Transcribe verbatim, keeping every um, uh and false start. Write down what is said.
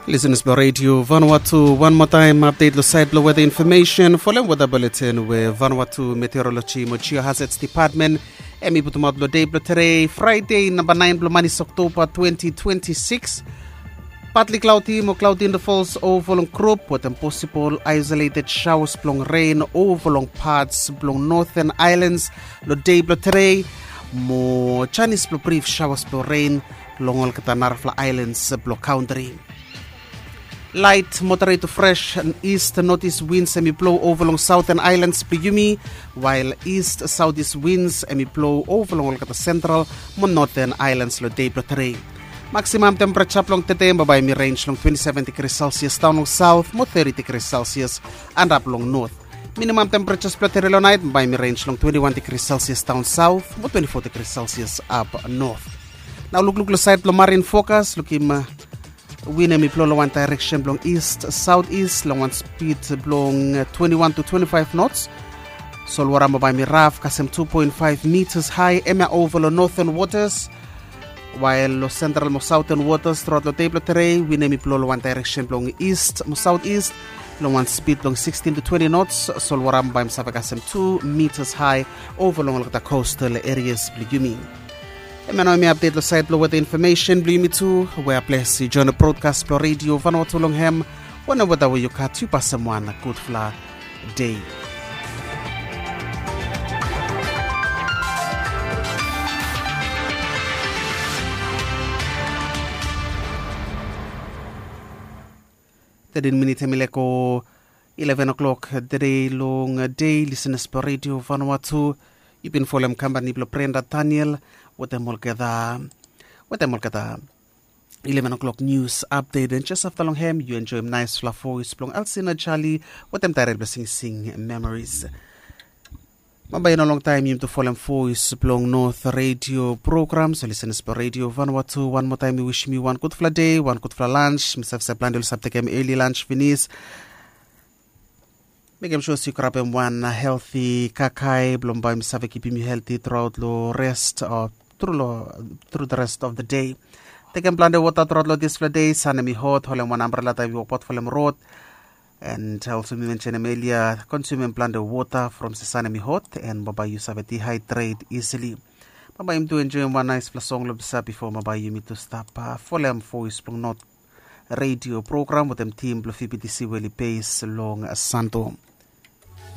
Listeners blong Radio Vanuatu, wan moa taem update long sait blong weather information folem weather bulletin we Vanuatu Meteorology mo Geohazards Department em i putumaot long dei blong tere, Friday namba naen blong manis, October twenty twenty-six. Partly cloudy mo cloudy intervals ova long group wetem possible isolated showers blong rain ova long parts blong Northern Islands long dei blong tere, mo chanis blong brief showers blong rain long olgeta narafala islands blong country. Light moderate to fresh east northeast winds em i blow ova long Southern Islands blong yumi, while east southeast winds em i blow ova long olgeta Central mo Northern Islands long dei blong tere. Maximum temperature blong tede bambae em i range long twenty-seven degrees Celsius daon long South mo thirty degrees Celsius antap long North. Minimum temperatures blong tede long naet bambae em i range long twenty-one degrees Celsius daon South mo twenty-four degrees Celsius ap North. Nao lukluk long sait blong marine forecast, lukim win em i blow long wan direction blong east southeast long wan speed blong twenty-one to twenty-five knots. Solwara bambae em i raf kasem two point five meters high, em ya ova long northern waters, while long central mo southern waters truaot long dei blong tere win em i blow long wan direction blong east mo southeast long wan speed blong sixteen to twenty knots. Solwara bambae em i save kasem two meters high ova long olgeta coastal areas blong yumi. Em ya nao em i update long sait blong weather information blong yumi tu. We a ples i join long broadcast blong Radio Vanuatu long hem. Wanem weather we yu gat, yu pasem wan gudfala dei. Thirteen minit em i lego eleven o'clock tede long dei. Listeners blong Radio Vanuatu, yu bin folem kampani blong Brenda Daniel wetem olgeta wetem olgeta eleven o'clock news update, and jes afta long hem yu enjoem naesfala voes blong Alsina Charlie wetem taerel blong singsing Memories. Bambae i no longtaem yumi tu folem voes blong North Radio program. So listeners blong Radio Vanuatu, wan moa taem mi wisim yu wan gudfala dei, wan gudfala lunch. Mi save se plante oli save tekem early lunch finis. Mekem sua se yu grabem wan healthy kakae blong bae mi save kipim yu healthy throughout long rest of through long through the rest of the day. Tekem plante wota throughout long dispela dei. San em i hot, holem wan ambrela taem yu wokbaot folem rod. And also mi mentionem earlier, consumem plante wota from se san em i hot and bambae yu save dehydrate easily. Bambae yumi tu enjoem wan naesfala song long bisa bifo bambae yumi tu stap folem voes blong North Radio program wetem tim blong V B T C we oli base long Santo.